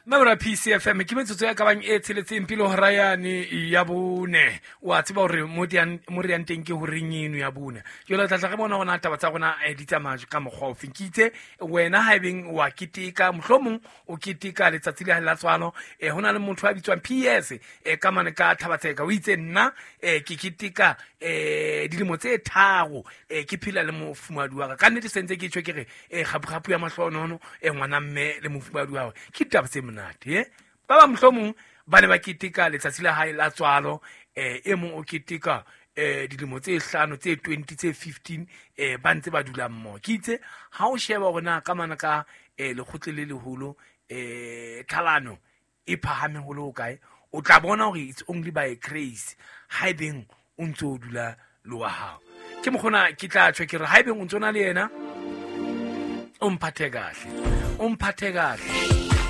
Mabra PCFM ke metsotso ya ka bang e tsheletseng pele hora yane ya bone. Wa tseba hore mo re yang teng ke horeng eno ya bone. Jwale tla tla re bona hore taba tsa rona di tsamaya ka mokgwa ofe. Ke itse wena haebeng wa keteka, mohlomong o keteka letsatsi le la tswalo, ho na le motho a bitswang PS ka mane ka Thabatseka, o itse nna ke keteka dilemo tse 3 ke phela le mofumahadi wa ka. Ka nnete se ntse ke tjho ke re kgapu-kgapu ya mahlonono ngwana mme le mofumahadi wa hae. Ke ditaba tse monate Ba bang mohlomong ba ne ba keteka letsatsi la hae la tswalo, e mong o keteka dilemo tse 5, tse 20, tse 15, ba ntse ba dula mmoho. Ke itse ha o sheba hore na ka mane ka lekgotle le leholo tlhalano e phahame ho le hokae, o tla bona hore it's only by grace haebeng o ntse o dula le wa hao. Ke mokgona ke tla tjho ke re haebeng o ntse o na le yena, o mphathe kahle, o mphathe kahle.